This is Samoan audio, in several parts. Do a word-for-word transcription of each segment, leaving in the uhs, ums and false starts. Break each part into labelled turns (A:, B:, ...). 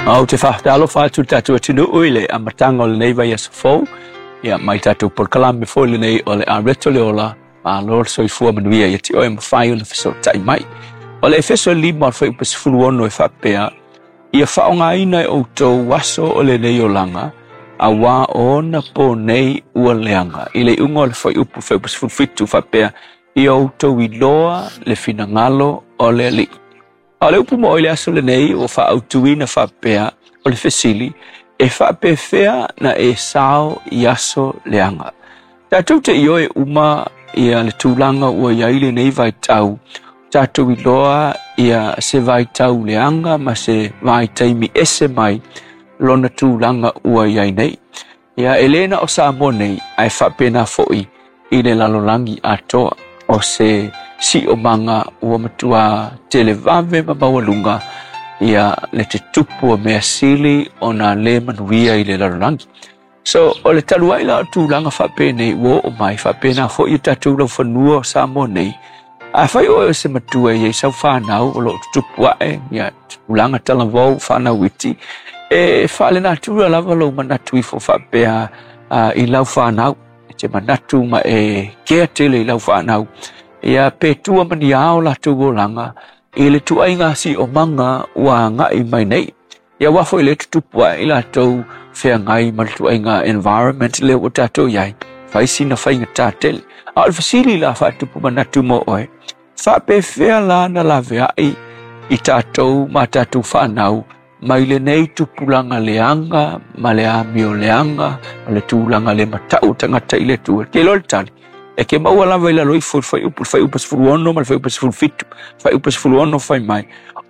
A: Ou te faatalofa atu le tatou atunuu i le amataga o lenei vaiaso fou, ia mai tatou polokalame foi lenei o le Areto le Ola, malo le soifua manuia ia te oe mafai ona fesootai mai. O le Efeso lima o le fuaiupu sefulu ono e faapea, ia faaaogaina e outou aso o lenei olaga, auā o ona po nei ua leaga. I le iuga o le fuaiupu fuaiupu sefulu fitu faapea, ia outou iloa le finagalo o le Alii. A o le upu mo i le aso lenei ua faaautuina faapea o le fesili, e faapefea na e sao i aso leaga. Tatou te ioe uma ia le tulaga ua iai lenei vaitau, tatou iloa ia se vaitau leaga ma se vaitaimi ese mai lona tulaga ua iai nei. Ia e le na o Samoa nei, ae faapena foi i le lalolagi atoa. O se siomaga ua matua televave ma maualuga ia le tutupu o mea sili ona le manuia i le lalolagi. So, o le talu ai la o tulaga faapenei ua oo mai, faapena foi i tatou laufanua o Samoa nei, afai oe o se matua i ai sau fanau o loo tutupu ae, ia tulaga talavou fanau iti, e faalenatura lava lou manatu ifo faapea uh, i lau fanau, e te manatu ma e kea tele i lau fanau, ia pe tua ma ni ao latou olaga i le tuaiga siomaga ua agai mai nei. Ia ua foi le tutupu ae i latou feagai ma le tuaiga environment lea ua tatou iai, fai sina faigata tele. A o le fesili la faatupu manatu mo oe, faapefea la na laveai i tatou ma tatou fanau mai lenei tupulaga leaga ma le amio leaga ma le tulaga le matau tagata i le Atua? Te iloa le tali e ke maua lava i lalo ifo i le fuaiupu, le fuaiupu sefulu ono ma le fuaiupu sefulu fitu. Fuaiupu sefulu ono fai mai,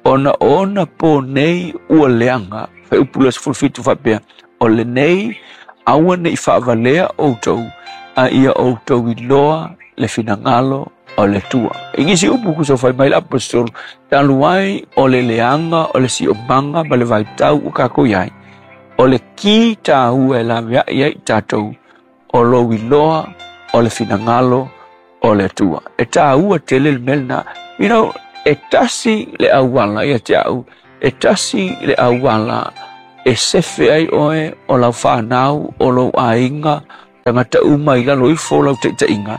A: ona ona po nei ua leaga. Fuaiupu le sefulu fitu faapea, o lenei aua nei faavalea outou, a ia outou iloa le finagalo o le Atua. I nisi upu kuso fai mai le apostolo, talu ai o le leaga o le siomaga ma le vaitau ua kākou iai, o le ki tāua e laveai ai tatou, o lou iloa o le finagalo o le Atua. E tāua tele le mea lena. You know, e tasi le auala ia te au, e tasi le auala e sefe ai oe o lau fanau, o lou aiga, tagata uma i lalo ifo o lau taitaiga,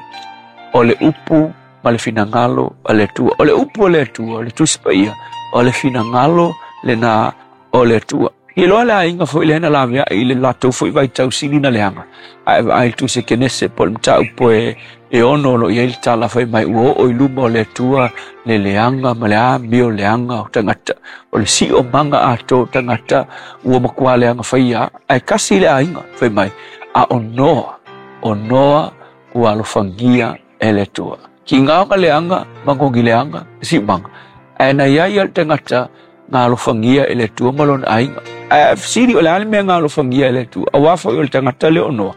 A: o le upu ma le finagalo o le Atua. O le upu o le Atua, o le Tusi Paia, o le finagalo lena o le Atua. I loa le aiga foi lea na laveai i le latou foi vaitau sili na leaga. Ae vaai le Tusi Kenese po o le mataupu e, e ono o lo o i ai le tala fai mai ua oo i luma o le Atua le leaga ma le amio leaga o tagata. O le siomaga atoa o tagata ua matua leaga faia. Ae kasi le aiga fai mai, a o Noa, o Noa ua alofagia e le Atua. Ki ngā leaga, magogi leaga, siomaga. Ae na iai le tagata nga alofagia e le Atua ma lona aiga. Ae fesili o le a le mea nga alofagia e le Atua? Auā foi o le tagata lea o Noa,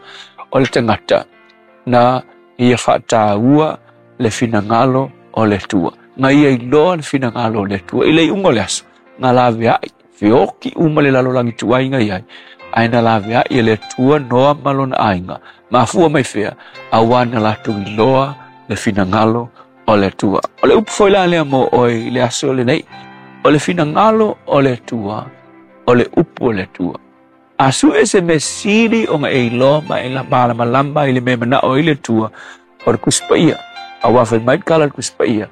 A: o le tagata na ia faataua le finagalo o le Atua. Na ia iloa le finagalo o le Atua. I le iuga o le aso, na laveai, feoki uma le lalolagi tuaiga iai, ae na laveai e le Atua Noa ma lona aiga. Mafua mai fea, auā na latou iloa le finagalo o le Atua. O le upu foi la lea mo oe i le aso lenei, o le finagalo o le Atua, o le upu o le Atua. A sue se mea sili ona e iloa ma e malamalama i le mea manao ai le Atua, o le Tusi Paia. Auā fai mai le tala le Tusi Paia,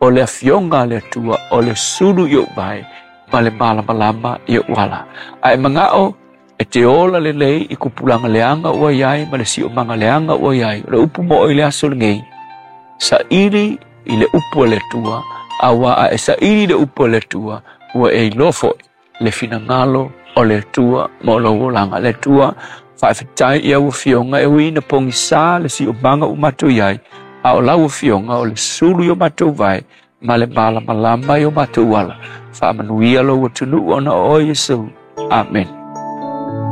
A: o le afioga a le Atua, o le sulu i ou vae, ma le malamalama i ou ala. Ae manao e te ola lelei i tupulaga leaga ua iai ma le siomaga leaga ua iai. O le upu mo oe i le aso lenei, saili i le upu a le Atua, auā a e saili le upu a le Atua, ua e iloa foi le finagalo o le Atua mo lou olaga. Le Atua, faafetai i au afioga e ui ina pogisa le siomaga ua matou iai, a o lau afioga o le sulu i o matou vae ma le malamalama i o matou ala. Faamanuia lou atunuu ona o oe Iesu. Amen.